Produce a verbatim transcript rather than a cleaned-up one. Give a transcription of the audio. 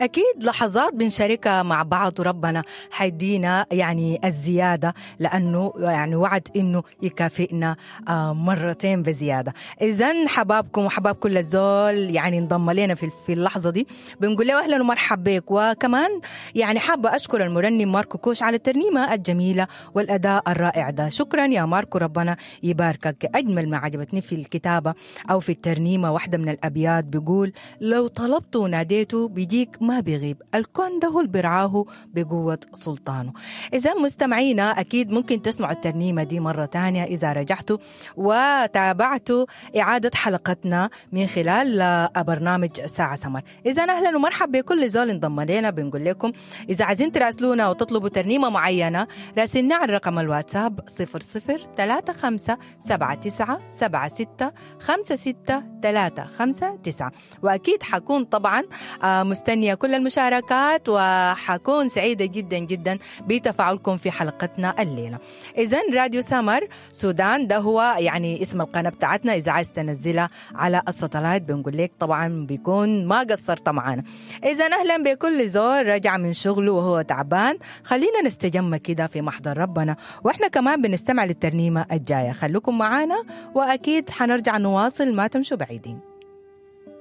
أكيد لحظات بنشاركها مع بعض، وربنا حيدينا يعني الزيادة، لأنه يعني وعد إنه يكافئنا مرتين بزيادة. إذن حبابكم وحباب كل الزول يعني انضم لنا في في اللحظة دي، بنقول له أهلا ومرحبا بك. وكمان يعني حابة أشكر المرنم ماركو كوش على الترنيمة الجميلة والأداء الرائع ده. شكرا يا ماركو، ربنا يباركك. أجمل ما عجبتني في الكتابة أو في الترنيمة واحدة من الأبيات بيقول: لو طلبته وناديته بيجيك ما بيغيب، الكون ده هو اللي برعاه بقوة سلطانه. إذا مستمعينا أكيد ممكن تسمعوا الترنيمة دي مرة تانية إذا رجعتوا وتابعتوا إعادة حلقتنا من خلال برنامج ساعة سمر. إذا أهلا ومرحبا بكل زول انضم لنا. بنقول لكم إذا عايزين تراسلونا وتطلبوا ترنيمة معينة راسلنا على رقم الواتساب صفر صفر ثلاثة خمسة سبعة تسعة سبعة ستة خمسة ستة ثلاثة خمسة تسعة. وأكيد حكون طبعا مستنية كل المشاركات، وحكون سعيدة جدا جدا بتفاعلكم في حلقتنا الليلة. إذن راديو سمر سودان ده هو يعني اسم القناة بتاعتنا، إذا عايز تنزلها على الساتلايت بنقول لك طبعا بيكون ما قصرت معانا. إذن أهلا بكل زول رجع من شغله وهو تعبان، خلينا نستجمع كده في محضر ربنا وإحنا كمان بنستمع للترنيمة الجاية. خلوكم معانا وأكيد حنرجع نواصل، ما تمشوا بعيدين.